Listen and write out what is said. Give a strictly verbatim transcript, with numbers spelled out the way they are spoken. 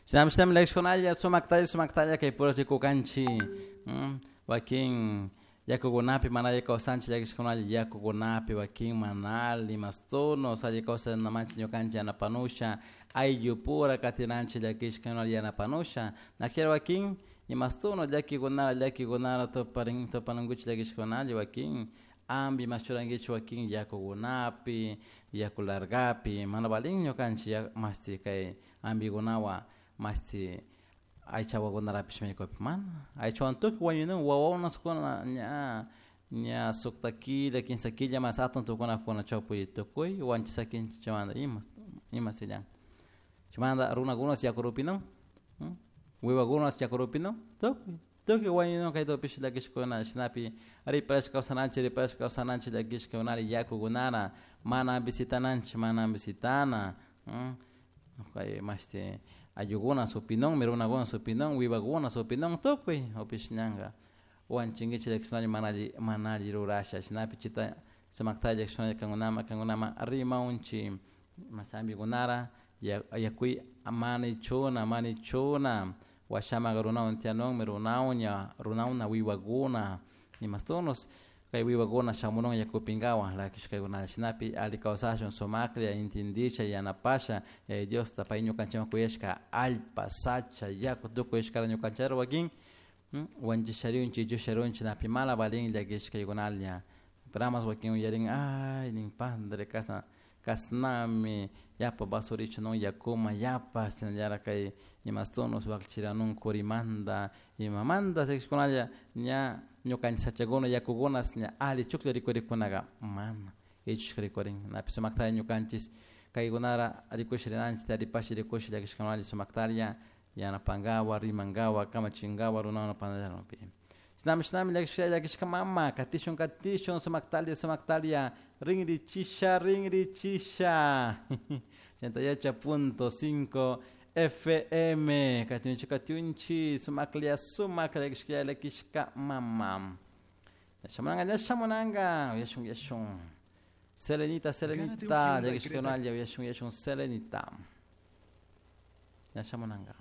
Shinami shinami llakishkunalla sumaktalla sumaktalla kay pura rikukanchik wakin yakukunapi mana alli kawsanchik llakishkunalla yakukunapi wakin mana alli mastunos alli kawsanamanchik ñukanchik yanapanusha ayllupura katinanchik llakishka yanapanusha nakira wakin imastuno llakikunara llakikunara tuparin tupanankuchik llakishkunalla wakin ambi mas churankichik wakin yakukunapi yaku largapi mana valin ñukanchik mashti kay ambikunawan mashti aycha wawakunarapish maykupi mana aychawan tukuy wañunun wawakunakuna ña ña sukta killa kimsa killa mas atun tukunakuna chawpi tukuy wanchishakinchik chaymanta ima ima sillan chaymanta runakunash yakurupinun wiwakunash yakurupinun tukuy tukuy wañunun kaytupish llakishkuna shinapi riparashka kawsananchik riparashka kawsananchik llakishka yakukunara mana visitananchik mana visitana kay mashti ayllukuna supinunmi runakuna supinun wiwakuna supinun tukuy upish ñanka wanchinkichik llakishkunalla mana alli mana alli rurasha shinapi chita sumaktalla llakishkunalla kankunaman kankunaman rimaunchik ambikunara yakuy mana ichuna mana ichuna washaman runawan tiyanunmi runawan ña runawna wiwakuna imastunos kay wiwakuna shamunun yakupinkawan llakishkakuna shinapi alli kawsashun sumaklla intindisha yanapasha Yaya Diosta pay ñukanchikman kuyashka allpa sacha yaku tukuy ishkara ñukanchikta wakin wanchisharunchik llusharunchik napi mana valin llakishkaykunalla ramas wakin uyarin ay nin padre kasna kasnami yapa basurichunun yakuman yapa shinallara kay imastunos wakchiranun kurimanta imamanta llakishkunalla ña ñukanchik sachakuna yakukuna ña alli chuklla rikurikunaka mana ichushka rikurin napi sumaktalla ñukanchik kaykunara rikush rinanchik taripash rikush llakishkunalla sumaktalla yanapankawa rimankawa kamachinkawa runakuna pantallapi shinami shinami llakishka llakishka mama katishun katishun sumaktalla sumaktalla rinrichisha rinrichisha ochenta y ocho punto cinco F M katiunchi katiunchi sumaklla sumaklla llakishka llakishka mama shamunanga ña shamunanga uyashun uyashun Selenita Selenita llakishkunalla uyashun uyashun Selenita ña shamunanga.